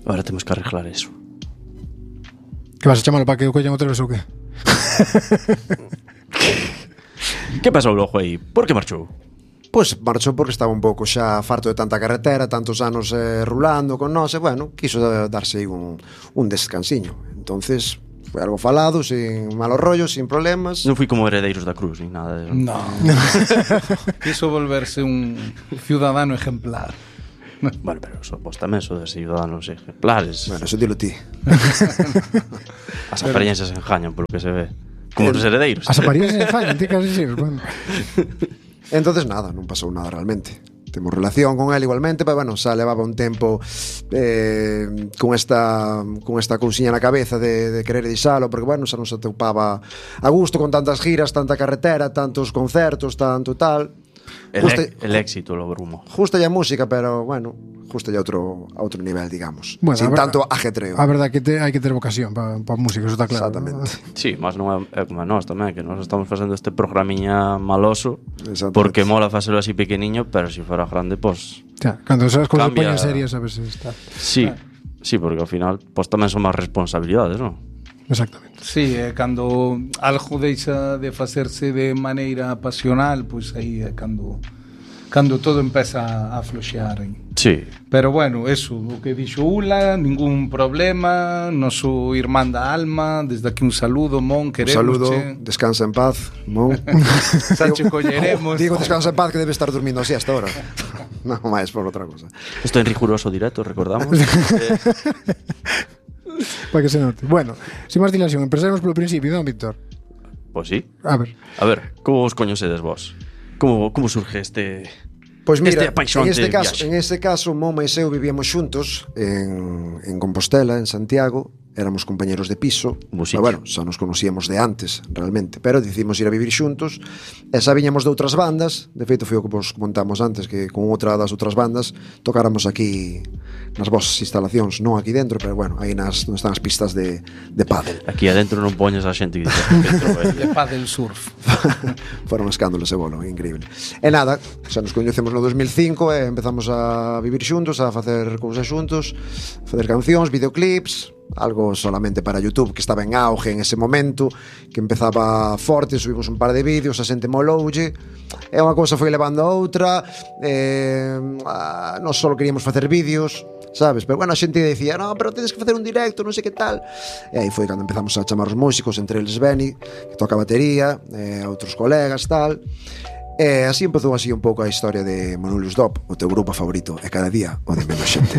Ahora temos que arreglar eso. Que vas a chamalo para que o collan outra vez ou que? Que pasou logo aí? Por que marchou? Pois marchou porque estaba un pouco xa farto de tanta carretera, tantos anos rulando con nós, e bueno, quiso darse aí un descansiño. Entonces, foi algo falado, sin malos rollos, sin problemas. Non fui como Heredeiros da Cruz, ni nada de eso. No. Quiso volverse un ciudadano ejemplar. Bueno, pero vos tamén sodes ciudadanos ejemplares. Bueno, eso dilo ti. As apariencias engañan, polo que se ve. Como os heredeiros. As apariencias fallan, ti casi decir, bueno. Entonces nada, non pasou nada realmente. Temos relación con él igualmente, pero bueno, xa levaba un tempo con esta cousiña na cabeza de querer deixalo, porque bueno, xa non se atopaba a gusto con tantas giras, tanta carretera, tantos concertos, tanto tal. El éxito lo brumo. Justa ya música, pero bueno, justa ya a outro nivel, digamos. Bueno, sin tanto ajetreo. A verdade que hai que ter vocación para música, eso está claro. Exactamente. Sí, mas non é como nós tamén, que nós estamos facendo este programiña maloso porque mola facelo así pequeniño, pero se fora grande, pues cando esas cousas cambia... poñen serias, a ver se está. Sí, porque ao final pues tamén son máis responsabilidades, non? Exactamente. Sí, cando algo deixa de facerse de maneira pasional, pois aí é cando todo empeza a floxear. Sí. Pero bueno, eso, o que dixo Ula, ningún problema, noso irmán da alma, desde aquí un saludo, Mon, queremos. Un saludo, descansa en paz, Mon. Sacho colleremos. Digo descansa en paz que debe estar durmiendo así hasta ahora. Non máis por outra cosa. Isto en riguroso directo, recordamos. Para que se note. Bueno, sin máis dilación, empezaremos polo principio, non, Víctor? Pois sí. A ver, como os coñecedes vos? Como surge este... Pois mira, en este caso, Moma e eu vivíamos xuntos en Compostela, en Santiago. Éramos compañeros de piso. Pero bueno, xa nos conocíamos de antes, realmente. Pero decidimos ir a vivir xuntos. E xa viñamos de outras bandas. De feito, foi o que vos comentamos antes, que con outra das outras bandas tocáramos aquí nas vosas instalacións. Non aquí dentro, pero bueno, aí non están as pistas de pádel. Aquí adentro non poñes a xente que de pádel surf. Foron escándalos e bolo, increíble. E nada, xa nos coñecemos no 2005 e empezamos a vivir xuntos, a facer cousas xuntos, a facer cancións, videoclips, algo solamente para YouTube, que estaba en auge en ese momento, que empezaba forte. Subimos un par de vídeos, a xente moloulle, e unha cousa foi levando a outra. Non só queríamos facer vídeos, sabes? Pero bueno, a xente decía, no, pero tedes que facer un directo, non sei que tal. E aí foi cando empezamos a chamar os músicos, entre eles Benny, que toca batería, outros colegas, tal. E así empezou así un pouco a historia de Manolius Dop, o teu grupo favorito, e cada día o de menos xente.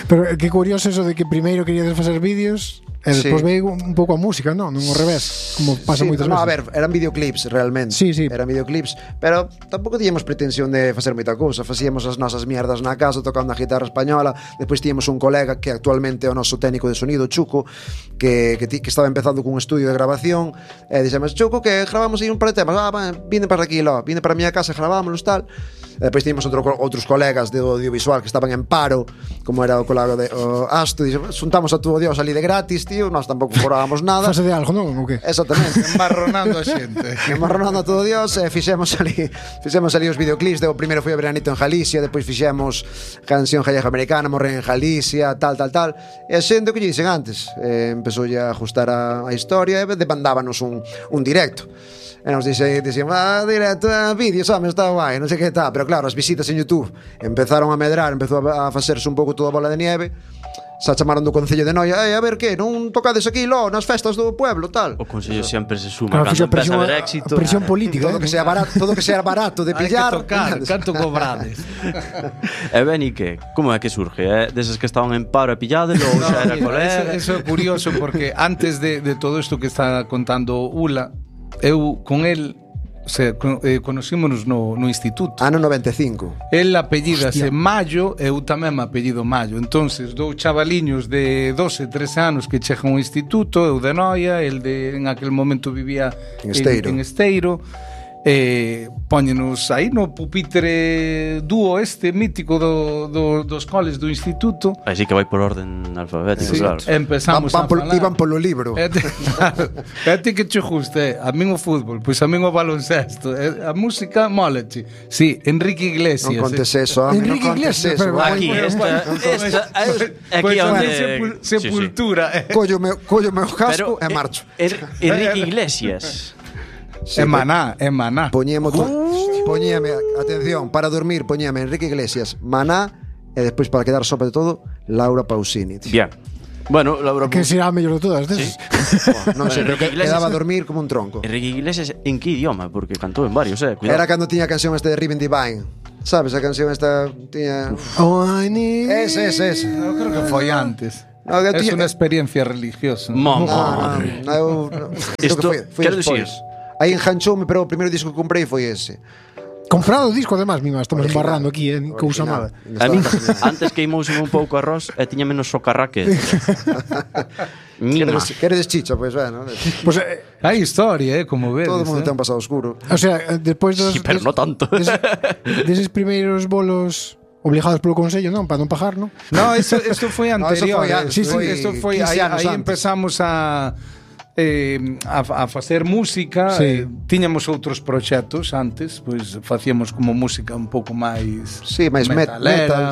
Pero que curioso eso de que primeiro queríades facer vídeos e despois veio un pouco a música, non? Non ao revés, como pasa moitas veces. A ver, eran videoclips realmente. Sí. Eran videoclips, pero tampouco tiñamos pretensión de facer moita cousa. Facíamos as nosas mierdas na casa tocando a guitarra española. Despois tíamos un colega que actualmente é o noso técnico de sonido, Chuco, que estaba empezando cun estudio de grabación, e dixemos, Chuco, que gravamos aí un par de temas. Vine para aquí, vine para a miña casa, gravámonos, tal. E depois tíamos outros colegas de audiovisual que estaban en paro, como era o colega de Asto, dixemos, xuntamos a tu Dios ali de gratis, tío, nós tampouco cobrábamos nada. Fase de algo, non? O que? Exactamente. Embarronando a xente. Embarronando a todo Dios, e fixemos ali os videoclips. O primeiro foi o Veranito en Galicia, depois fixemos Canción Gallega Americana, Morren en Galicia, tal. E a xente, o que lle dicen antes, empezou a ajustar a historia e demandábanos un directo. E nos dixemos, directo, vídeos, está guai, non sei que tal. Pero claro, as visitas en YouTube empezaron a medrar, empezou a facerse un pouco toda a bola de nieve. Xa chamaron do Concello de Noia, a ver que, non tocades aquí nas festas do pueblo, tal. O Concello sempre se suma cando empeza a haber éxito. Presión política, todo que sea barato de pillar. Hai que tocar, canto cobrades. E Beni, que? Como é que surge? Deses que estaban en paro e pillades, ou xa era colega? Eso é curioso, porque antes de todo isto que está contando Ula, eu con el conocímonos no instituto. Ano 95. El apellídase Mallo, eu tamén me apellido Mallo. Entonces, dous chavaliños de 12, 13 anos que chegan ao instituto, eu de Noia, el en aquel momento vivía en Esteiro. póñenos aí no pupitre dúo mítico dos coles do instituto. Así que vai por orden alfabético, claro. Empezamos a falar. Iban polo libro. A ti que che guste, a min o fútbol, pois a min o baloncesto, a música mólache. Sí, Enrique Iglesias. Non contes eso, Enrique Iglesias, pero Aquí, aquí onde Sepultura. Collo meu casco e marcho. Enrique Iglesias. É Maná. Poñíame, atención, para dormir poñíame Enrique Iglesias, Maná e despois para quedar sopa de todo, Laura Pausini. Bien. Bueno, Laura que será a mellor de todas, sí. Non sei, pero quedaba a dormir como un tronco. Enrique Iglesias en que idioma? Porque cantou en varios, cuidado. Era cando tiña a canción de Ribbon Divine. Sabes, a canción esta tiña... Oh, I need... Ese. Eu creo que foi antes. No, es una experiencia religiosa. Isto, quero dicir, aí enganchoume, pero o primeiro disco que comprei foi ese. Comprado o disco, además, mima, estamos embarrando aquí en cousa mala. A mí, antes queimouse un pouco arroz e tiña menos socarraque. Queredes chicha, pois bueno. Pues, hai historia, como ves. Todo o mundo ten un pasado oscuro. O sea, despois dos... Sí, pero no tanto. Deses primeiros bolos obligados polo Consello, non? Para non pagar, non? No, eso foi anterior. Eso foi aí empezamos a facer música. Sí. Tiñamos outros proxectos antes, pois facíamos como música un pouco máis máis metal,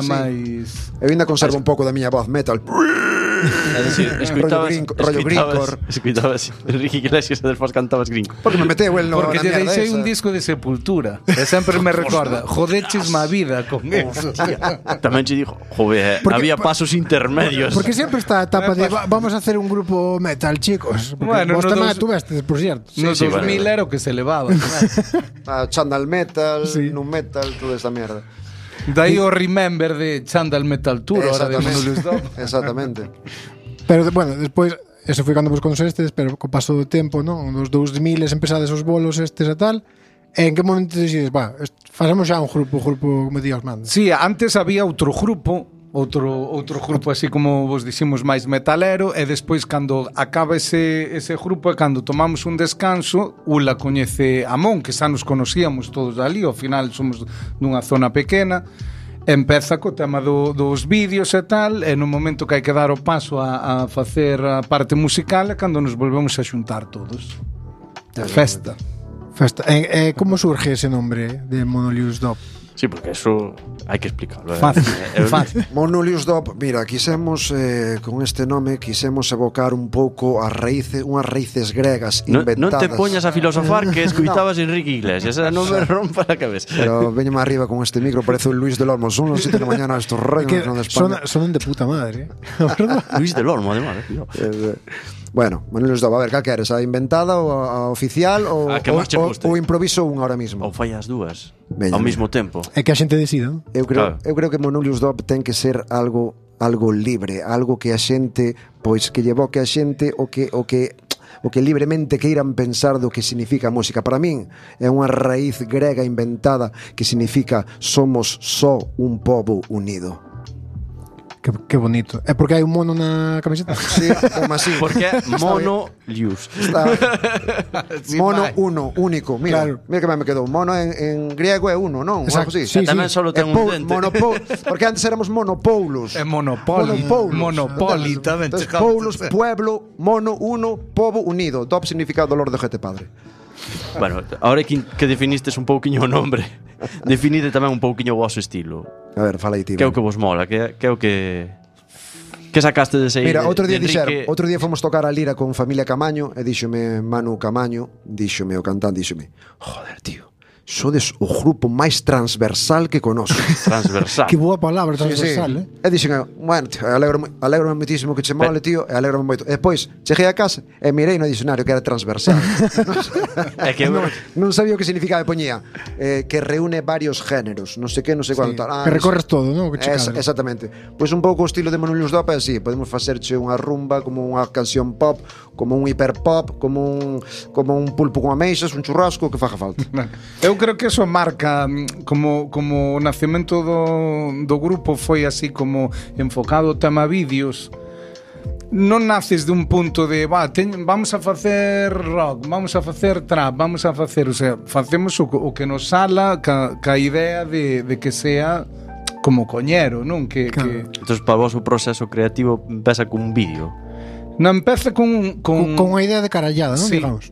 máis. Eu ainda conservo un pouco da miña voz metal. É dicir, escuitabas Enrique Iglesias e despois cantabas gringo. Porque me meteu el no na porque mierda. Porque lle deixei un disco de Sepultura. E sempre me recorda, jodeches má vida con eso. Tamén che dijo, joder, había pasos intermedios. Porque sempre está a etapa de vamos a hacer un grupo metal, chicos. Bueno, vos tamén tuvestes, por cierto. No 2000 era o que se levaba. Chandal Metal, Nu Metal, toda esta mierda. Dai o Remember de Chandal Metal Tour, ahora de Manolius Dop. Exactamente. Pero, bueno, despois, eso foi cando vos conocestes, pero co paso do tempo, non? Nos 2000 empezades os bolos estes e tal. E en que momento decides, facemos xa un grupo, como Dios manda? Sí, antes había outro grupo así como vos diximos máis metalero, e despois cando acaba ese grupo e cando tomamos un descanso, Ula coñece a Mon, que xa nos conocíamos todos ali, ao final somos nunha zona pequena, empeza co tema dos vídeos e tal, e no momento que hai que dar o paso a facer a parte musical é cando nos volvemos a xuntar todos. Festa. Como surge ese nombre de Manolius Dop? Sí, porque eso hai que explicarlo. Fácil. Manolius Dop, mira, quisemos con este nome quisemos evocar un pouco unhas raíces gregas inventadas. Non te poñas a filosofar que escuitabas Enrique Iglesias, non me rompa a cabeza. Pero veño máis arriba con este micro, parece un Luis del Olmo. Son las 7 de la mañana estos reinos de España. Son de puta madre. Luis del Olmo, además. Bueno, Manolius Dop, a ver, cal queres? A inventada ou a oficial ou improviso unha ahora mismo? Ou fai as dúas ao mesmo tempo. É que a xente decida. Eu creo que Manolius Dop ten que ser algo libre, algo que a xente, pois que lle evoque a xente o que libremente queiran pensar do que significa a música. Para min é unha raíz grega inventada que significa somos só un pobo unido. Que bonito. É porque hai un mono na camiseta? Sí, como así. Porque Monolius. Mono uno, único. Mira, claro. Mira que me quedou. Mono en griego é uno, non? Exacto. Sí, tamén solo ten un dente. Porque antes éramos monopoulos. É monopoli tamén. Entonces, poulos, pueblo, mono, uno, pobo, unido. Dop significa dolor de gente padre. Bueno, ahora que definistes un pouquiño o nombre, definide tamén un pouquiño o vosso estilo. A ver, fala aí ti. Que é o que vos mola, que é o que sacaste dese aí. Mira, outro día fomos tocar a lira con familia Camaño e díxome Manu Camaño, díxome o cantante, díxome, joder, tío, sodes o grupo máis transversal que conozco. Transversal. Que boa palabra, transversal, sí. E dixen, bueno, tío, alegro muitísimo que che mole, tío, e alegro moito. E depois, cheguei a casa e mirei no dicionario que era transversal. É que non sabía o que significaba, e poñía que reúne varios géneros, non sei que, non sei cuánto. Que recorres todo, non? Exactamente. Pois un pouco o estilo de Manolius Dop é así, podemos facerche unha rumba como unha canción pop, como un hiperpop, como un pulpo con ameixas, un churrasco, que faga falta. Eu creo que eso marca como o nacemento do grupo foi así como enfocado o tema vídeos. non naces de un punto de vamos a facer rock, vamos a facer trap, vamos a facer, o sea, facemos o que nos sala ca idea de que sea como coñero, non? Claro. Entón, para vos o proceso creativo empeza cun vídeo. Non empeza con unha idea de carallada, non? Sí, Digamos.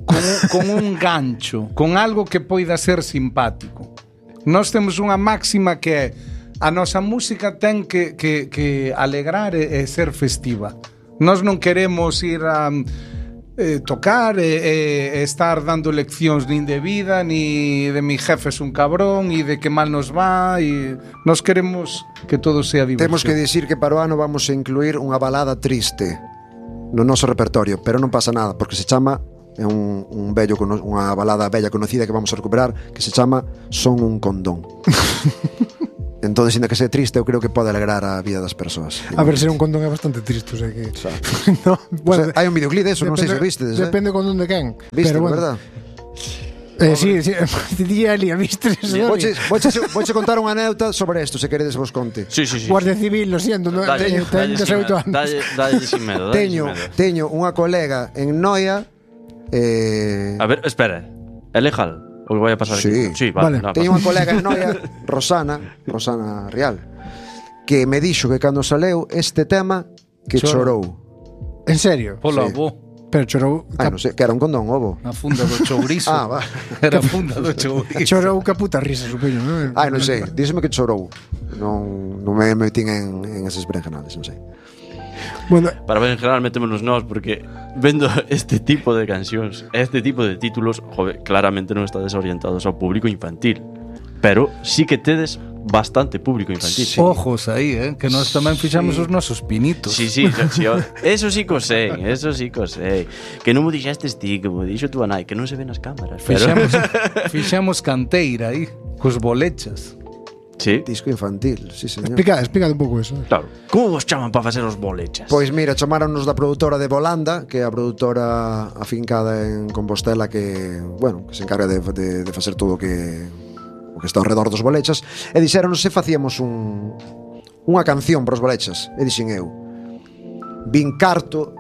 con un gancho, con algo que poida ser simpático. Nós temos unha máxima que é a nosa música ten que alegrar e ser festiva. Nós non queremos ir a tocar e estar dando leccións nin de vida, ni de mi jefe es un cabrón, e de que mal nos va, e nós queremos que todo sea diversión. Temos que dicir que para o ano vamos a incluir unha balada triste no noso repertorio, pero non pasa nada, porque se chama unha balada bella conocida que vamos a recuperar, que se chama Son un condón. Entón, sinda que sea triste, eu creo que pode alegrar a vida das persoas. A ver, ser un condón é bastante triste, o sea que... no, bueno, o sea, hai un videoclip de eso, non sei se vistes. Depende condón de quen. Viste, pero bueno. Verdad? Sí, día ali, vistes eso. Voiche contar unha anécdota sobre isto, se queredes vos conte. Sí. Guardia Civil, lo siento, no, dalle sin medo. Teño unha colega en Noia. A ver, espera. É legal? O que vai a pasar aquí? Sí, vale. Teño unha colega en Noia, Rosana Real, que me dixo que cando saleu este tema que chorou. En serio? Polo avó. Pero chorou... non sei, que era un condón, ovo. Na funda do chourizo. Va. Era a funda do chourizo. Chorou que puta risa, supoño, non? Non sei, díseme que chorou. Non me metín en esas berenjenales, non sei. Bueno, para ver, en general metémonos nós porque vendo este tipo de cancións, este tipo de títulos, joder, claramente non está desorientados ao público infantil, pero sí que tedes bastante público infantil. Sí. Ojos aí, que nós tamén fixamos os nosos pinitos. Sí, eso sí que sei. Que non mo dixestes ti, que mo dixo tú a nai, que non se ven as cámaras. Fixamos canteira aí, cos bolechas. Sí. Disco infantil, sí, señor. Explica un pouco eso. Claro. Como vos chaman para facer os bolechas? Pois mira, chamaronnos da produtora de Volanda, que é a produtora afincada en Compostela, que, bueno, que se encarga de facer todo o que está ao redor dos bolechas, e dixeronnos se facíamos unha canción para os bolechas. E dixen eu, Vincarto.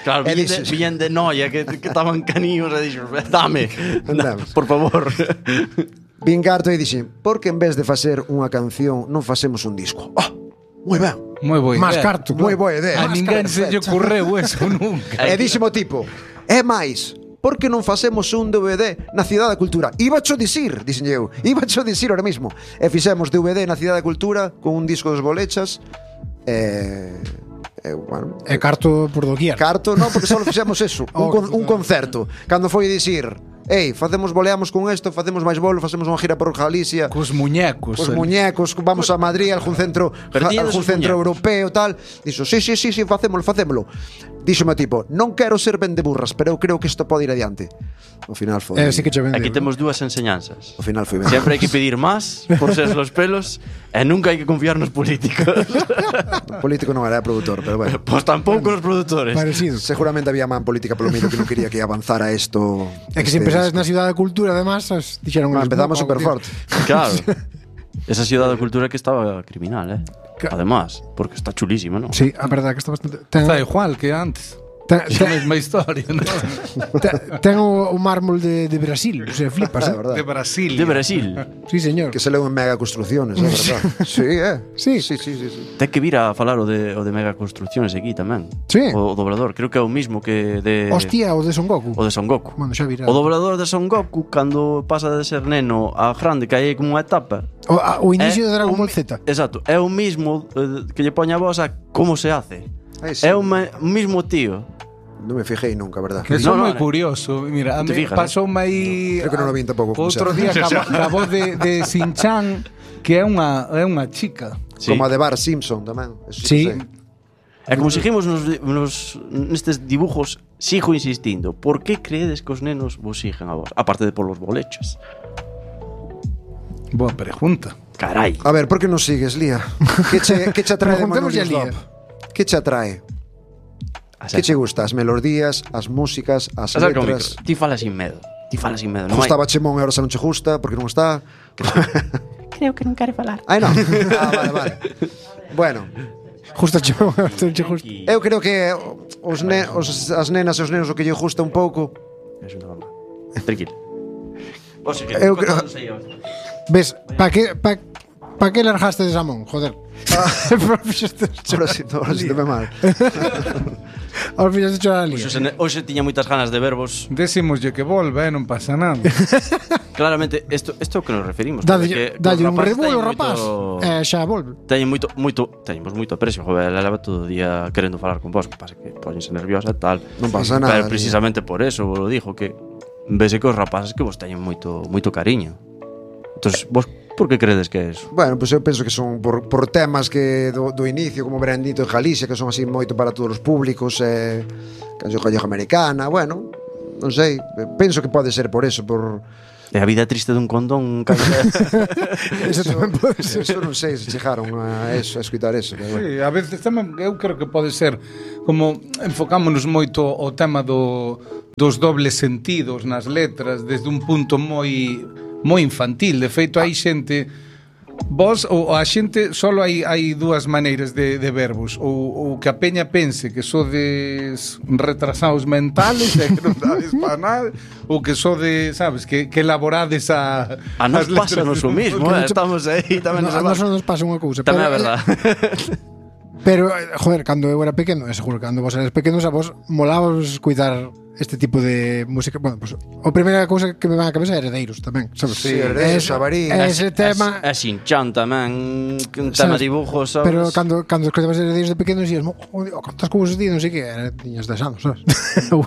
Claro, viñen de Noia, que estaban caníos, e dixen, dame, por favor. Vincarto e dixen, por que en vez de facer unha canción non facemos un disco? Moi ben. Moi boa idea. Más carto. Moi boa idea. A ninguén se lle ocurreu eso nunca. E díximo tipo, é máis, por que non facemos un DVD na Cidade da Cultura? Ibacho dicir, dixen eu, ibacho dicir ahora mismo. E fixemos DVD na Cidade da Cultura con un disco dos bolechas. Bueno, carto por doquier. Carto, non, porque só fixemos eso, un concerto. Cando foi dicir, boleamos con isto, facemos máis bolo, facemos unha gira por Galicia. Cos muñecos. Vamos a Madrid, algún centro europeo, tal. Dixo, sí, facémolo. Díxome tipo, non quero ser vendeburras, pero eu creo que isto pode ir adiante. Ao final foi... sí que aquí temos dúas enseñanzas. Ao final foi ben. Sempre hai que pedir máis por ser los pelos e nunca hai que confiar nos políticos. O político non era produtor, pero bueno. Pois tampouco nos produtores. Parecido. Seguramente había man política polo medio que non quería que avanzara isto. É que se empezades na Cidade da Cultura, además, dixeron... Empezamos super forte. Claro. Esa Cidade da Cultura que estaba criminal, además, porque está chulísima, ¿no? Sí, a verdade que está bastante... Está igual que antes. É a mesma historia, ¿no? Ten o mármol de Brasil, o sea, flipas, De Brasil. De Brasil. Sí, señor. Que se leu en Mega Construcciones, é verdad. Sí. Ten que vir a falar o de Mega Construcciones aquí tamén. Sí. O doblador, creo que é o mismo que de... Hostia, o de Son Goku. O de Son Goku. Bueno, xa virá. O doblador de Son Goku, cando pasa de ser neno a grande, que hai como unha etapa. O inicio de Dragon Ball Z. Exacto, é o mismo que lle poña a voz a como se hace. É o mismo tío. Non me fijei nunca, verdad? Que son moi curioso. Mira, pasoume aí... Creo que non o vin tampouco. Outro día a voz de Shin-Chan, que é unha chica. Sí. Como a de Bart Simpson tamén. Sí. E como seguimos nestes dibujos, sigo insistindo. Por que creedes que os nenos vos sigan a vos? Aparte de polos bolechos. Boa pregunta. Carai. A ver, por que non sigues, Lía? Que che atrae de Manoli Slop? Que che atrae? Que che gusta? As melodías, as músicas, as letras? Ti falas sin medo. Gustaba Chemón e ahora xa non che gusta, porque non está? Creo que non quere falar. Non. Vale. Bueno, Justo chegou, justo. Eu creo que as nenas e os nenos o que lle gusta un pouco. Eso non va. Tranquilo. Vos que Eu creo- Ves, pa que largaste de Samón? Joder. Ahora sí te ve mal. Ahora fixaste chorar a Lía. Hoxe tiña moitas ganas de vervos. Decímoslle que volve, non pasa nada. Claramente, isto é o que nos referimos. Dalle un rebulo, rapaz. Xa volve. Teñemos moito aprecio, joder, ela leva todo o día querendo falar con vos, que pasa que poñense nerviosa e tal. Non pasa nada. Pero precisamente por eso vos lo dijo, que vese que os rapaces que vos teñen moito cariño. Entonces, vos por que credes que é eso? Bueno, pues eu penso que son por temas que do inicio, como Brandito en Galicia, que son así moito para todos os públicos, canción gallego americana, bueno, non sei, penso que pode ser por eso, por... E a vida triste dun condón, Eso tamén pode ser. Eso non sei se chegaron a eso, a escutar eso. Pero bueno. Sí, a veces tamén eu creo que pode ser como enfocámonos moito ao tema dos dobles sentidos nas letras desde un punto moi infantil. De feito, hai xente vos ou a xente solo hai dúas maneiras de verbos, ou que a peña pense que sodes retrasados mentales e que non dades para nada, ou que sodes, sabes, que elaborades a nos pasa o mismo, estamos aí tamén A nós non nos pasa unha cousa. Tamén é verdad. Pero, joder, cando eu era pequeno, seguro que cando vos eres pequenos, a vos molábamos cuidar este tipo de música. Bueno, pues a primeira cousa que me van a cabeza é Heredeiros tamén, sabes? Sí, Heredeiros, Xabarín. Ese tema... É Shin-Chan tamén, un tema de dibujos, sabes? Pero cando escoitabas Heredeiros de pequeno dicías, cantas cousas di, non sei que, tiñas 10 anos, sabes? ou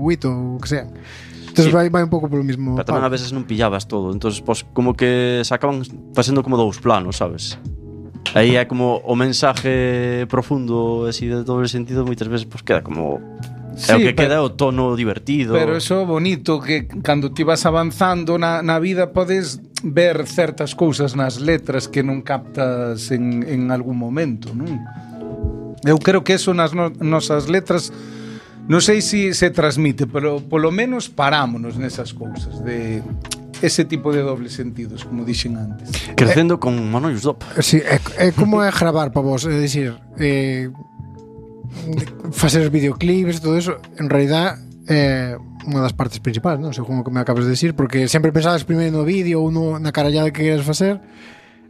8, ou que sea. Entonces vai un pouco polo mismo. Pero tamén a veces non pillabas todo, entonces pues, como que se acaban facendo como dous planos, sabes? Aí é como o mensaje profundo así de todo el sentido, moitas veces pues queda como é o que queda o tono divertido. Pero eso bonito que cando ti vas avanzando na vida podes ver certas cousas nas letras que non captas en algún momento, non? Eu creo que eso nas nosas letras non sei se transmite, pero polo menos parámonos nesas cousas de ese tipo de dobles sentidos, como dixen antes. Crecendo con Manollos Dop. Sí, é como é gravar para vos, é dicir, facer os videoclips e todo eso, en realidad é unha das partes principais, non? Según o que me acabas de decir, porque sempre pensabas primeiro no vídeo ou na carallada que queres facer.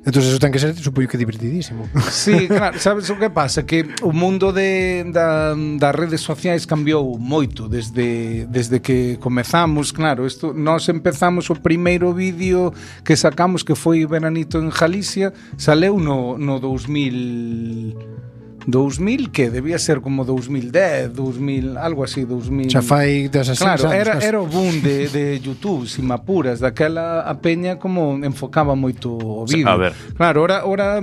Entón eso ten que ser, supoño que divertidísimo. Sí, claro, sabes o que pasa? Que o mundo das redes sociais cambiou moito desde que comezamos, claro, nós empezamos o primeiro vídeo que sacamos, que foi Veranito en Galicia, saleu no 2000 que debía ser como 2010, 2000, algo así, 2000. Xa fai 16 claro, anos. era o boom de YouTube, sin apuras, daquela a peña como enfocaba moito o vídeo. A ver. Claro, ora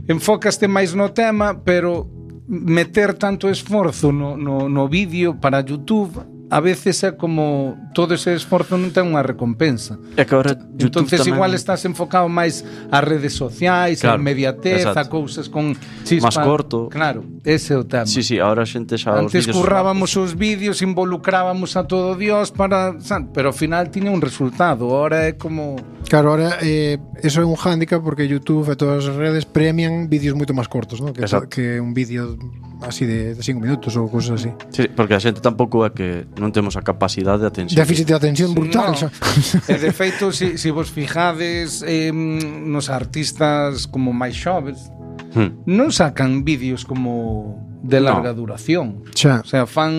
enfocaste máis no tema, pero meter tanto esforzo no vídeo para YouTube a veces é como todo ese esforzo non ten unha recompensa. É que agora YouTube entonces tamén... igual estás enfocado máis ás redes sociais, claro, a inmediatez, exacto. a cousas con chispa. Más corto. Claro, ese é o tema. Sí, ahora a xente xa antes os currábamos os vídeos, involucrábamos a todo Dios pero ao final tiña un resultado. Ahora é como... Claro, ahora eso é un hándicap porque YouTube e todas as redes premian vídeos moito máis cortos, ¿no? que un vídeo así de 5 minutos ou cosas así. Sí, porque a xente tampouco é que non temos a capacidade de atención. Déficit de atención brutal. No. E de feito, se vos fijades nos artistas como máis xoves, non sacan vídeos como de larga duración. Xa. O sea, fan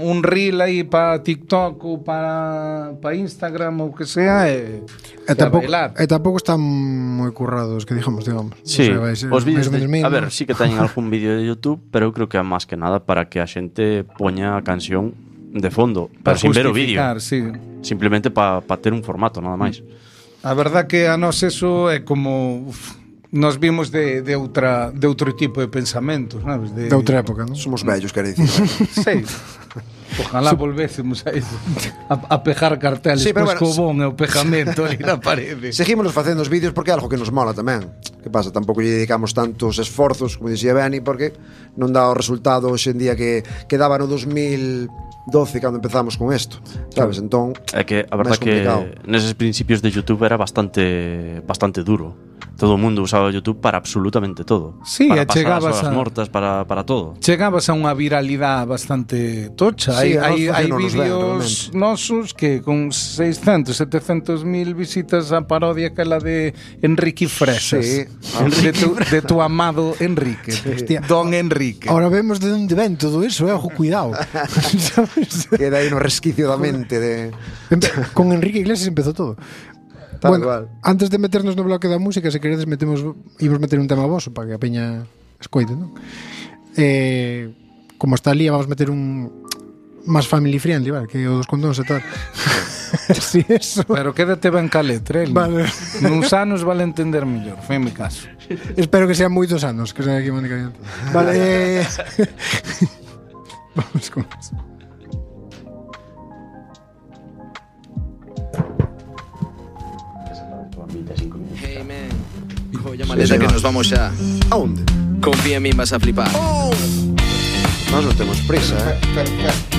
un reel aí para TikTok ou para Instagram ou que sea e tampouco están moi currados, que digamos. Sí, o sea, os vídeos a ver, sí que teñen algún vídeo de YouTube, pero eu creo que é máis que nada para que a xente poña a canción de fondo, pero sin ver o vídeo. Sí. Simplemente para ter un formato, nada máis. A verdad que a nós eso é como... Nos vimos de outro tipo de pensamentos, sabes? De outra época, non? Somos vellos, quero dicir. Sí. Ojalá volvésemos a eso, a pejar carteles, sí, pues bueno, cobón e o pejamento aí na parede. Seguimos facendo os vídeos porque é algo que nos mola tamén. Que pasa? Tampouco lle dedicamos tantos esforzos, como dicía Benny, porque non dá o resultado hoxe en día que daba no 2012 cando empezamos con isto, sabes? Entón, é que a verdad que neses principios de YouTube era bastante duro. Todo o mundo usaba YouTube para absolutamente todo. Sí, para e pasar as chegabas horas a- mortas, para todo. Chegabas a unha viralidade bastante tocha. Sí, hai a nós funcionou-nos ben, vídeos nosos que con 600, 700 mil visitas a parodia que la de Enrique Fresas. Sí. De tu amado Enrique. Hostia. Don Enrique. Ahora vemos de onde ven todo eso, ojo, cuidado. ¿Sabes? Queda aí no resquicio da mente de... Con Enrique Iglesias empezó todo. Tal Bueno, cual. antes de meternos no bloque da música, se queredes íbamos meter un tema voso para que a peña escoite, non? Como está ali, vamos meter un máis family friendly, vale, que o dos condóns e tal. Sí, eso. Pero quédate ben ca letra, Vale. Nuns anos vale entender mellor, foi mi caso. Espero que sean moitos anos, que sea aquí Mónica Diante. Vale. Vamos con eso. Hey man, colla maleta que nos vamos xa. A onde? Confía en mí, vas a flipar. Nós non temos prisa,